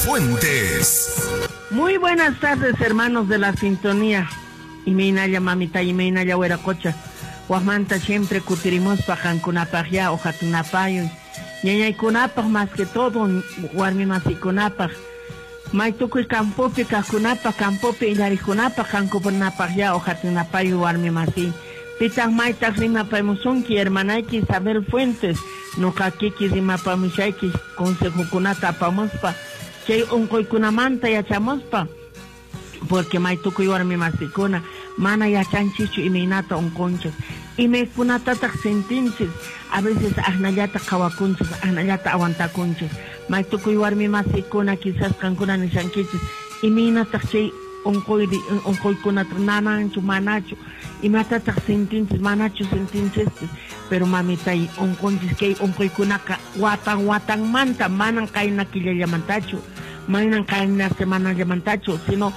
Fuentes. Muy buenas tardes, hermanos de la sintonía. Imaynalla mamita, imaynalla wiraqocha. Wajmanta siempre kutirimuspa qankunapaq ya o hatunapayuy. Ñañaykunapaq más que todo, warmi masikunapaq. Maytukuy campopi kaqkunapaq, campopi illariqkunapaq, qankunapaq ya o hatunapayuy warmi masi. Pitaq maytaq rimapamusunki, hermanayki Isabel Fuentes. Nuqa kiki rimapamushayki consejokunata apamuspa. Chay unquykunamanta yachamuspa. Porque maytukuy warmi masikuna mana yachanchischu imaynata unqunchis, imaykunatataq sentinchis, a veces aqnallata qhawakunchis, aqnallata aguantakunchis. Maytukuy warmi masikuna quizás qankuna nishankichis imaynataq chay unquyri unquykunata nananchu manachu, imatataq sentinchis manachu sentinchispis. Pero mamitay unqunchis kay unquykunaqa watan watanmanta, manan qayna killallamantachu, manan qayna semanallamantachu, sino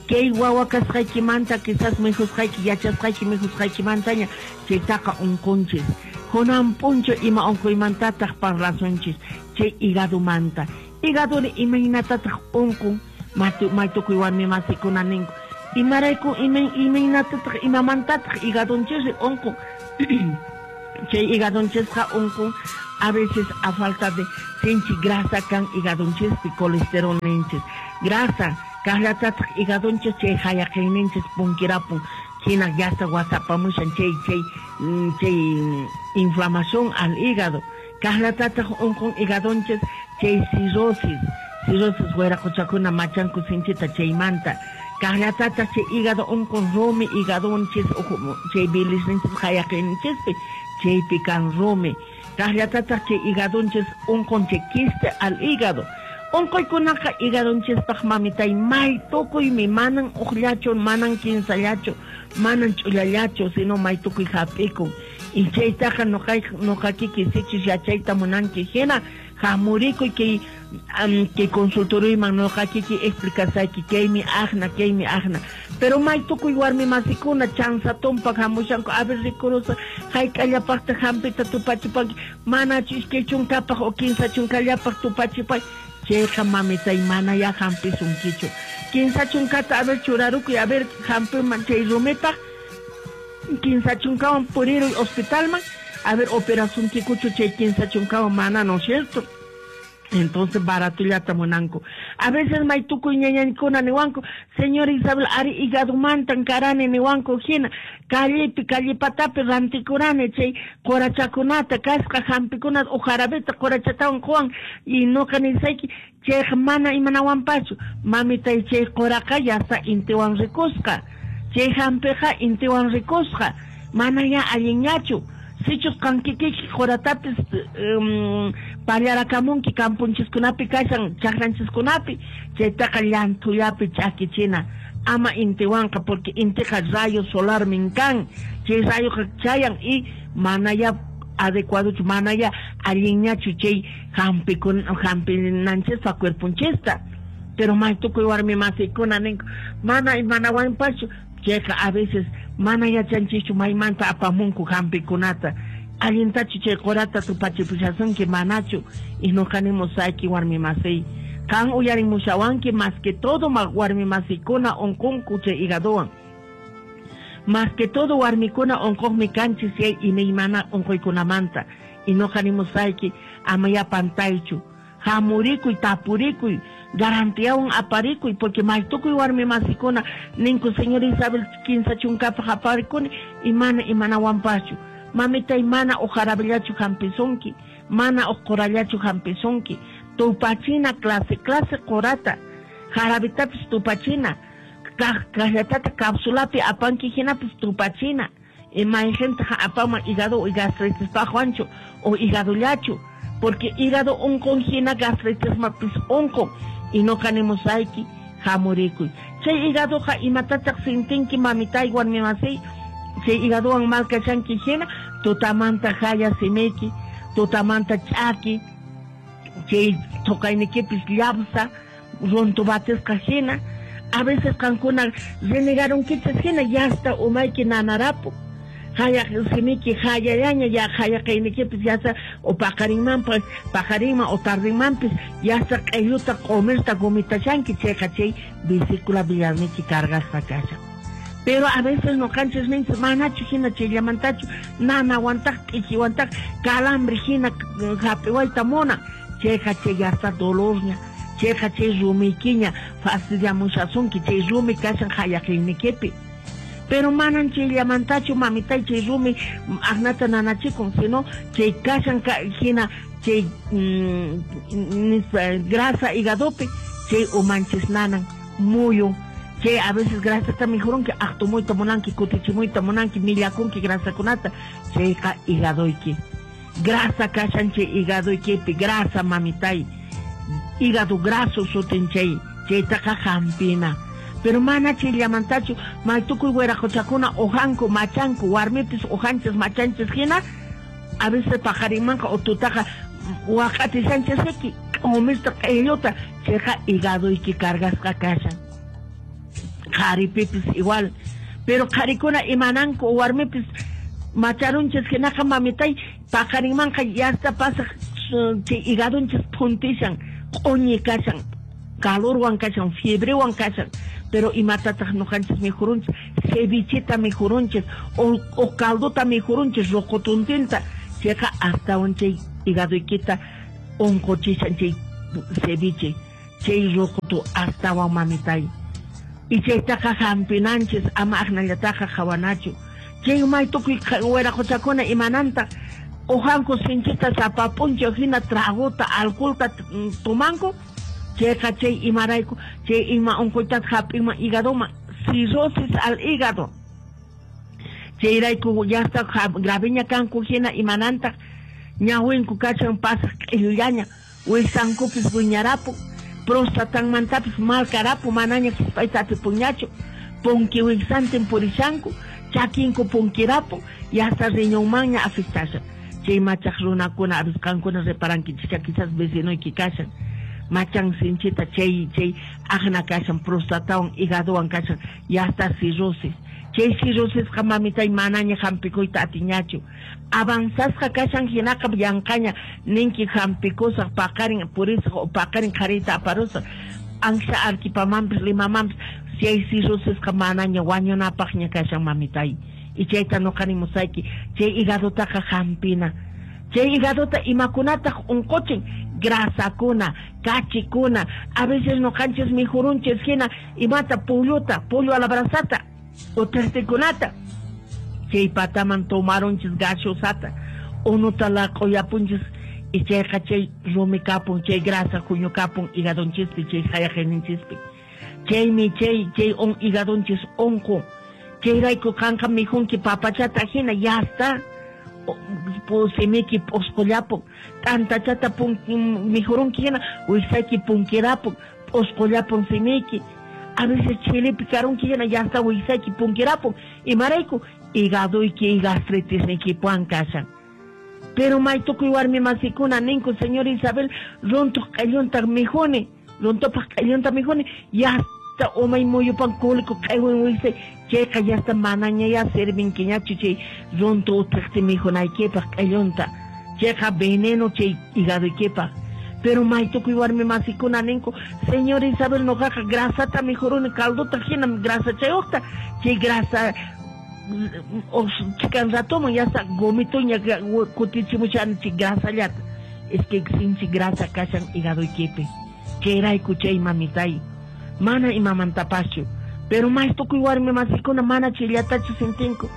kay wawa kasqaykimanta quizás mikhusqayki yachasqayki mikhusqaykimantaña chaytaqa unqunchis. Kunan p'unchaw ima unquymantataq parlasunchis chay hígadomanta. Hígadori imaynatataq unqun, maytukuy warmi masikuna ninku. Imarayku imaynatataq imamantataq hígadonchisri unqun. Chay hígadonchisqa unqun a veces a falta de sinchi grasa kan hígadonchispi colesterol ninchis. Grasa kaqllatataq hígadonchis chay hayaqayninchis punkirapun. Hina yasta wasapamushan chay chay chay inflamación al hígado. Kaqllatataq unqun hígadonchis chay cirrosis. Cirrosis wiraqochakuna machanku sinchita chaymanta. Kaqllatataq chay hígado unqun rumi hígadonchis chay bilisninchis hayaqayninchispi chaypi kan rumi. Kaqllatataq chay hígadonchis unqun chay quiste al hígado. Unquykunaqa hígadonchispaq mamitay may tukuymi, manan uqllachu, manan kinsallachu, manan ch'ullallachu, sino may tukuy hap'ikun. Y chaytaqa nuqa kiki sichus yachayta munanki hina hamurikuy kay kay consultoriyman nuqa kiki explicasayki kaymi aqna, kaymi aqna. Pero may tukuy warmi masikuna chanza tumpak hamushanku, a ver rikurusa hayk'allapaqtaq hampita tupachipanki, manachu iskay chunkapaq o kinsa chunkallapaq tupachipay. Chayqa mamitay mana ya hampisunkichu. Kinsa chunkata a ver churarukuy, a ver hampiman chay rumipaq, kinsa chunkawan puriruy hospitalman, a ver operasunkikuchu chay kinsa chunkawan mana, ¿no es cierto? Entonces baratullata munanku. A veces may tukuy ñañaykuna niwanku, señor Isabel, ari hígadomantan karani niwanku hina, callepi, callipatapi rantikurani chay qurachakunata, kasqa hampikunata, o jarabeta qurachatawan quwan, y nuqa nisayki, chayqa mana imanawanpachu, mamitay chay quraqa yasta intiwan rikusqa, chay hampiqa intiwan rikusqa, mana ya allinñachu. Sichus qankikiki quratapis pallarakamunki kampunchiskunapi kashan chaqranchiskunapi, chaytaqa llanthullapi ch'akichina, ama intiwanqa, porque intiqa rayo solarmin kan, chay rayoqa chayan y mana ya adecuadochu, mana ya allinñachu chay hampinanchispa cuerponchista. Pero may tukuy warmi masikuna ninku, mana imanawanpachu, chayqa a veces mana yachanchischu maymanta apamunku hampikunata. Allintachu chay qurata tupachipushasunki manachu, y nuqa nimusayki warmi masiy. Qan uyarimushawanki más que todo warmi masikuna unqunku chay hígadowan. Más que todo warmikuna unquqmi kanchis chay imaymana unquykunamanta. Y nuqa nimusayki ama ya pantaychu. Hamurikuy, tapurikuy, garantiawan aparikuy, porque may tukuy warmi masikuna ninku señor Isabel kinsa chunkapaq aparikuni y mana imanawanpachu. Mamitay mana ujarabillachu hampisunki, mana uqurallachu hampisunki. Tupachina clase, clase qurata, jarabitapis tupachina, kaqllatata capsulapi apanki hinapis tupachina. Y mayqintaq apaman hígado y gastritispaqwanchu o hígadollachu, porque hígado unqun hina gastritismapis unqun. Y nuqa nimusayki hamurikuy. Chay hígadoqa imatataq sintinki mamitay warmi masiy, chay hígadowan mal kashanki hina tutamanta haya simiyki, tutamanta ch'aki, chay thuqaynikipis llapsa, runtubatisqa hina. A veces qankuna renegarunkichis hina yasta umayki nanarapu. Hayaq simiki hayallaña ya hayaqaynikipis yasa o paqarinmanpas paqarinman o tardinmanpis yasa q'illuta q'umirta gumitashanki chayqa chay vesícula biliarniki cargasqa kashan. Pero a veces ñuqanchis ninchis manachu hina chayllamantachu nanawantaq t'ikiwantaq calambre hina hap'iwayta munan chayqa chay yasta dolorña chayqa chay rumiykiña fastidiamushasunki chay rumi kashan hayaqaynikipi. Pero manan chayllamantachu mamitay chay rumi aqnata nanachikun sino chay kashan hina chay grasa hígadopi chay umanchis nanan muyun. Chay a veces grasata mijurunki aqtumuyta munanki kutichimuyta munanki millakunki grasakunata chayqa hígadoyki. Grasa kashan chay hígadoykipi grasa mamitay hígado graso sutin chay chaytaqa hampina. Pero mana chayllamantachu maytukuy wiraqochakuna ujanku machanku warmipis ujanchis machanchis hina a veces paqarinmanqa o tutaqa waq'atishanchisiki q'umirta q'illuta chayqa hígadoyki cargasqa kashan. Qharipipis igual pero qharikuna imananku warmipis macharunchis hinaqa mamitay paqarinmanqa yasta pasaq chay hígadonchis phuntishan q'uñi kashan calorwan kashan fiebrewan kashan. Pero imatataq ñuqanchis mijurunchis cevicheta mijurunchis o caldota mijurunchis roqotuntinta chayqa astawan chay hígadoykita unquchishan chay ceviche chay roqotu astawan mamitay. Y chaytaqa hampinanchis ama aqnallataqa qhawanachu chay maytukuy wiraqochakuna imanantaq ujanku sinchita sapa p'unchaw hina tragota alcoholta tomanku chayqa chay imarayku chay ima unquytata hap'inman hígadoman cirrosis al hígado chayrayku yasta graveña kanku hina imanantaq ñawinku kashan pasaq q'illullaña wisankupis wiñarapun prostatanmantapis malkarapu manaña hisp'ayta atipunñachu punki wiksantin purishanku chakinku punkirapun yasta riñonmanña afectashan chay machaq runakuna avisqankuna reparankichis quizás vecinoyki kashan machan sinchita chay chay aqna kashan prostatawan hígadowan kashan yasta cirrosis chay cirrosisqa mamitay manaña hampikuyta atiñachu avanzasqa kashan hinaqa llanqaña ninki hampikusaq paqarin purisaq o paqarin qhariyta aparusaq ancha Arequipamanpis Limamanpis chay cirrosisqa manaña wañunapaqña kashan mamitay y chayta ñuqa nimusayki chay hígadotaqa hampina. Chay hígadota imakunataq unquchin grasakuna kachikuna a veces ñuqanchis mijurunchis hina imata polluta pollo a la brasata o tertikunata chay pataman tomarunchis gaseosata unuta laq'uyapunchis y chayqa chay rumi kapun chay grasa huñukapun hígadonchispi chay hayaqayninchispi chaymi chay chay hígadonchis unqun chayrayku qanqa mijunki papachata hina yasta simiki p'usqullapun t'antachata mijurunki hina wiksayki punkirapun p'usqullapun simiki a veces chilipi karunki hina yasta wiksayki punkirapun imarayku hígadoyki y gastritisniykipuwan kashan. Pero maytukuy warmi masikuna ninku señora Isabel runtuq q'illunta mijuni runtupaq q'illunta mijuni yasta umay muyupan kuliku q'iwin wiksay chayqa yasta manaña ya servinkiñachu chay runtu ut'iqti mijunaykipaq q'illunta chayqa veneno chay hígadoykipaq. Pero maytukuy warmi masikuna ninku señora Isabel ñuqaqa grasata mijuruni caldota hina grasa chayuqta chay grasa o chikan ratoman yasta gomituña kutichimushani chay grasallata es que sinchi grasa kashan hígadoykipi chayrayku chay mamitay mana imamantapaschu. Pero maytukuy warmi masikuna mana chayllatachu sintinku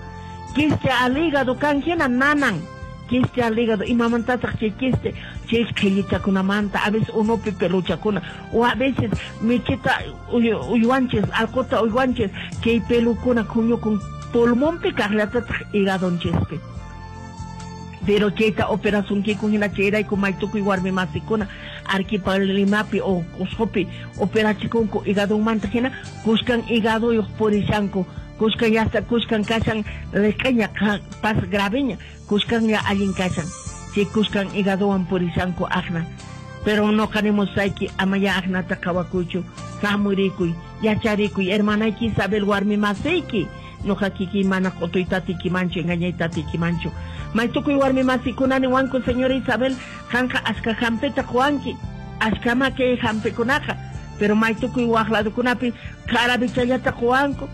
quiste al hígado kan hina nanan quiste al hígado imamantataq chay quiste chay qhillichakunamanta a veces unupi peluchakuna o a veces michita uywanchis alquta uywanchis chay pelukuna huñukun pulmonpi kaqllatataq hígadonchispi. Pero chayta operasunkikun hina chayrayku maytukuy warmi masikuna Arequipa Limapi o Cuscopi operachikunku hígadonmanta hina kuskan hígadoyuq purishanku kuskan yasta kuskan kashan liq'iña pas graveña kuskanña allin kashan chay kuskan hígadowan purishanku aqna. Pero ñuqa nimusayki amaya aqnata qhawakuychu hamurikuy yacharikuy hermanayki Isabel warmi masiyki Noqa kikiy mana q'utuyta atiykimanchu, engañayta atiykimanchu. Maytukuy warmi masikuna niwanku, señora Isabel, qanqa ashka hampita quwanki, ashkama kay hampikunaqa, pero maytukuy waq ladukunapi jarabichallata quwanku,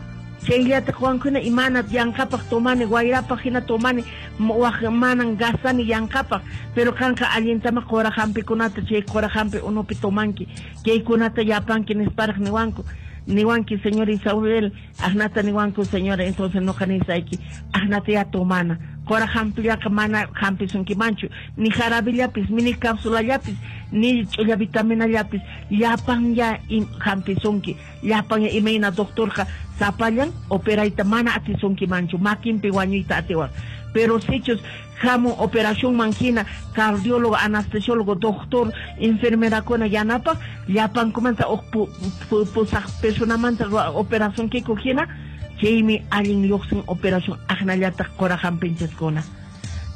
chayllata quwanku hina y mana yanqapaq tomani, wayrapaq hina tomani, waq manan gastani yanqapaq, pero qanqa allintama qura hampikunata chay qura hampi unupi tomanki, kaykunata yapanki nisparaq niwanku. Niwanki, señora Isabel, aqnata niwanku, señora, entonces noqa nisayki, aqnata ya tomana. Qura hampillaqa mana hampisunkimanchu, ni jarabillapis, ni cápsulallapis, ni ch'ulla vitaminallapis, llapan ya hampisunki, llapan ya imayna doctorqa sapallan operayta mana atisunkimanchu, makinpi wañuyta atiwaq. Pero sichus hamun operacionman hina cardiólogo, anestesiólogo, doctor, enfermerakuna yanapaq, llapankumanta uq pusaq personamanta operación kiku hina, chaymi allin lluqsin operación aqnallataq qura hampinchiskuna.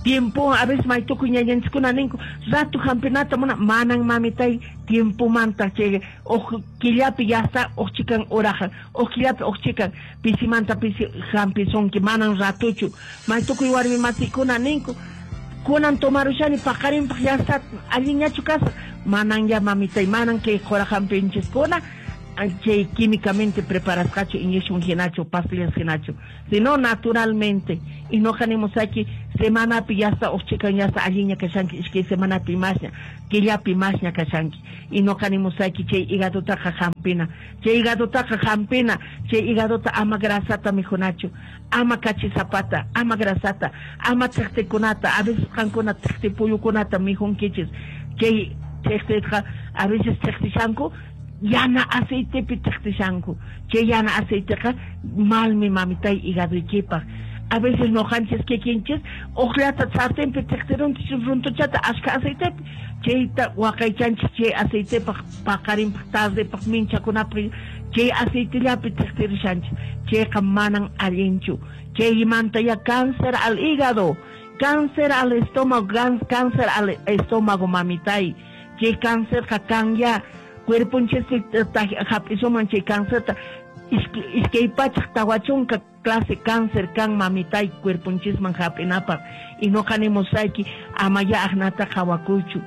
Tiempo, a veces maytukuy ñañanchiskuna ninku, rato hampinata muna, manan mamitay tiempomanta chay uq killapi ya está uq chikan urajan, uq killapi uq chikan pisimanta pisi hampisunki, manan ratuchu. Maytukuy warmi masikuna ninku, kunan tomarushani paqarinpaq ya está allinñachu kasaq, manan ya mamitay, manan kay qura hampinchiskuna chay químicamente preparasqachu inyección hinachu, pastillas hinachu, sino naturalmente. Y noqa nimusayki semanapi ya está uq chikan ya está allinña kashanki, iskay semanapi masña, killapi masña kashanki. Y noqa nimusayki chay hígadotaqa hampina, chay hígadotaqa hampina, chay hígadota ama grasata mikhunachu, ama kachisapata, ama grasata, ama thiqtikunata, a veces qankuna thiqti puyukunata mikhunkichis, chay thiqtiqa a veces thiqtishanku yana aceitepi thiqtishanku, chay yana aceiteqa malmi mamitay hígadoykipaq. A veces noqanchis kikinchis uqllata sartenpi thiqtirunchis runtuchata ashka aceitepi, chayta waqaychanchis chay aceitepaq paqarinpaq tardepaq minchakunapaq chay aceitellapi thiqtirishanchis, chayqa manan allinchu. Chaymanta ya cáncer al hígado, cáncer al estómago, cáncer al estómago mamitay, chay cáncerqa kan ya cuerponchispi hap'isuman chay cáncerta iskay pachaq tawa chunka clase cáncer kan mamitay cuerponchisman hap'inapaq. Y noqa nimusayki ama ya aqnata qhawakuychu.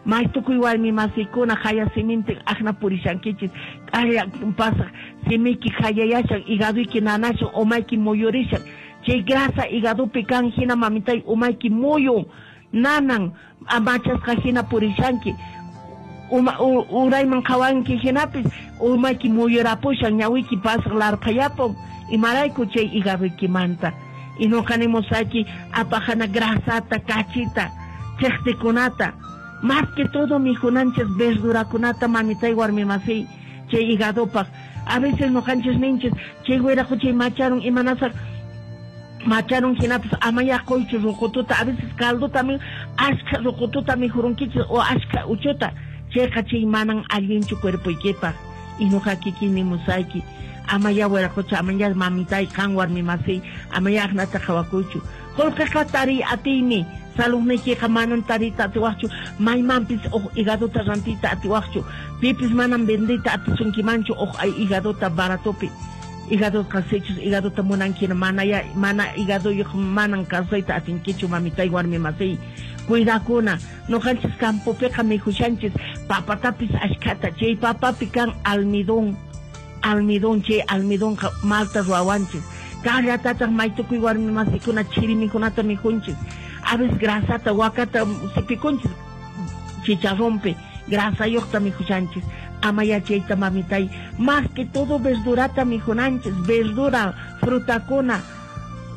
Maytukuy warmi masikuna haya simintin aqna purishankichis, k'alla pasaq simiyki hayayashan, hígadoyki nanashan, umayki muyurishan, chay grasa hígadopi kan hina mamitay umayki muyun, nanan, machasqa hina purishanki, urayman qhawanki hinapis umayki muyurapushan, ñawiyki pasaq larqhayapun, imarayku chay hígadoykimanta. Y noqa nimusayki apaqana grasata, kachita, thiqtikunata, más que todo mikhunanchis verdurakunata mamitay warmi masiy chay hígadopaq. A veces noqanchis ninchis chay wiraquchay chay macharun imanasaq macharun hinapis amaya quychu ruqututa, a veces caldota ashka ruqututa mikhurunkichis o ashka uchuta, chayqa chay manan allinchu cuerpoykipaq. Y noqa kikin nimusayki amaya wiraqucha, amaya mamitay qan warmi masiy, amaya aqnata qhawakuychu. Qullqiqa tariy atiymi, saludniykiqa manan tariyta atiwaqchu, maymanpis uq hígadota rantiyta atiwaqchu, pipis manan vendiyta atisunkimanchu uq hígadota baratopi. Hígadoqa sichus hígadota munankina mana ya mana hígadoyuq manan kawsayta atinkichu mamitay warmi masiy. Cuidakuna, noqanchis campopiqa mikhushanchis papatapis ashkhata, chay papapi kan almidón, almidón, chay almidonqa malta ruwawanchis. Kaqllatataq maytukuy warmi masikuna chiri mikhunata mikhunchis, a veces grasata wakata sipikunchis chicharrompi, grasayuqta mikhushanchis. Ama ya chayta mamitay, más que todo verdurata mikhunanchis, verdura, frutakuna,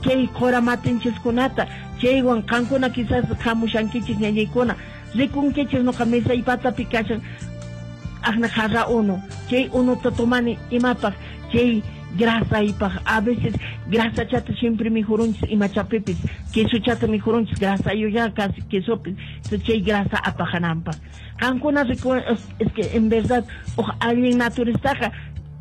chay qura matinchiskunata, chaywan qankuna quizás hamushankichis ñañaykuna, rikunkichis noqa mesay patapi kashan aqna jarra unu, chay unuta tomani imapaq, chay grasaypaq, a veces grasachata siempre mikhurunchis imachapipis, quesochata mikhurunchis grasayuq casi quesopis, chay grasa apajananpaq. Qankuna es que en verdad uq allin naturistaqa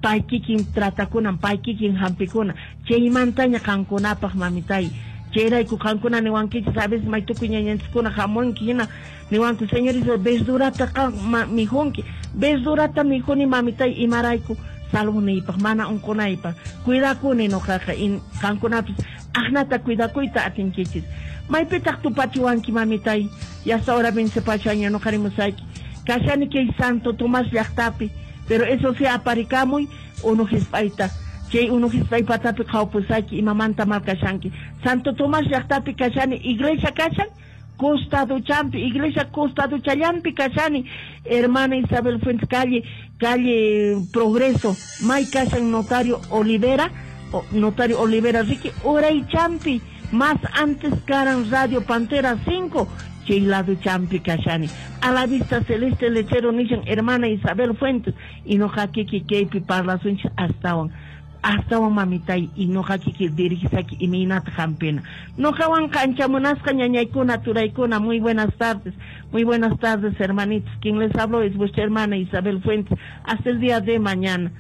pay kikin tratakunan, pay kikin hampikuna, chaymantaña qankunapaq mamitay. Chayrayku qankuna niwankichis a veces maytukuy ñañanchiskuna hamunki hina niwanku, señorita, verdurata qan mikhunki, verdurata mikhuni mamitay imarayku Salunaypaq, mana unqunaypaq. Cuidakuni noqaqa, qankunapis aqnata cuidakuyta atinkichis. Maypitaq tupachiwanki, mamitay? Yasta hora vencepashaña noqa rimusayki. Kashani kay Santo Tomás llaqtapi, pero eso sí, aparikamuy unu hisp'ayta. Chay unu hisp'ay patapi qhawpusayki imamanta mal kashanki. Santo Tomás llaqtapi kashani, iglesia kashan, costaduchampi, iglesia costaduchallampi kashani, hermana Isabel Fuentes, calle Progreso, may kashan notario Olivera, notario Olivera Ricky, Uraychampi, más antes karan Radio Pantera 5, chay lado champi kashani. A la vista celeste lechero nishan hermana Isabel Fuentes, y noqa kiki kaypi parlasunchis astawan. Astawan mamitay y noqa kiki dirigisaki imaynata hampina. Noqawanqa ancha munasqa ñañaykuna, turaykuna, muy buenas tardes. Muy buenas tardes, hermanitos. Quien les habló es vuestra hermana Isabel Fuentes. Hasta el día de mañana.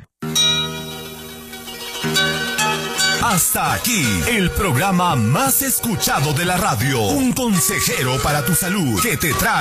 Hasta aquí, el programa más escuchado de la radio. Un consejero para tu salud que te trae